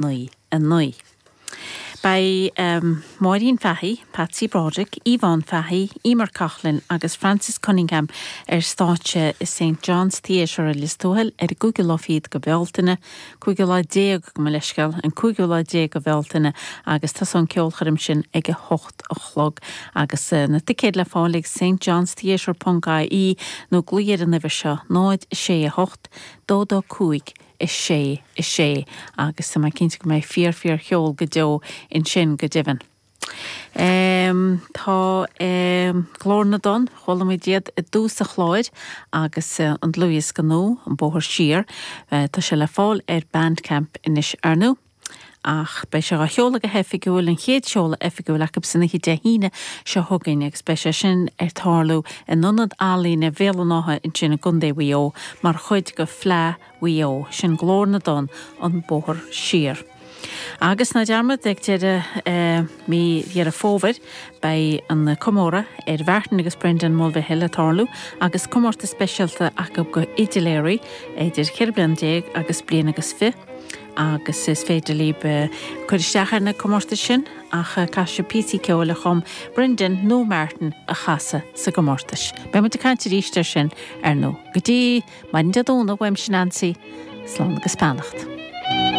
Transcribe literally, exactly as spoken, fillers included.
naoi a naoi. Beidh Máirín Fahy, Patsy Broderick, Yvonne Fahy, Emer Coughlin agus Francis Cunningham ar stáitse i St John's Theatre i Lios Tuathail ar an gcúigiú lá fichead de Bhealtaine, cúigiú lá déag gabh mo leithscéal, an cúigiú lá déag de Bhealtaine agus tosaíonn an ceolchoirm sin ag a hocht a chlog agus na ticéid le fáil ag St John's Theatre ponc IE nó glaoigh ar an uimhir seo náid sé a hocht dó dó cúig a sé a sé agus tá mé cinnte go mbeidh fíor fíor cheol go deo ansin go deimhin. Um, tá um, Glór na dTonn, chuala muid iad i dtús an chláir agus uh, an dlúthdhiosca nua an bóthar siar, uh, tá sé le fáil ar Bandcamp anois ar ndóigh. Ach beidh sé á sheoladh go hoifigiúil an chéad seoladh oifigiúil acu san oíche Dé hAoine seo chugainn agus beidh sé sin ar tarlú in Ionad Ealaíne Bhéal an Átha ansin i gContae Mhaigh Eo mar chuid de Fleadh Mhaigh Eo, sin Glór na dTonn an bóthar siar. Agus ná dearmad ag deireadh eh, mí Dheireadh Fómhair beidh an comóradh ar Mhartin agus Brendan Mulvihill ag tarlú agus comórtas speisialta acu do fhidiléirí idir ceithre bliana déag agus bliain agus fiche agus is féidir libh eh, cur isteach ar na comórtais sin ach eh, caithfidh sibh píosaí ceoil a chum Brendan nó Martin a chasadh sa gcomórtas. Beidh muid ag caint arís air sin ar ndóigh. Go dtí maidin Dé Domhnaigh uaimse Nancy, slán agus beannacht.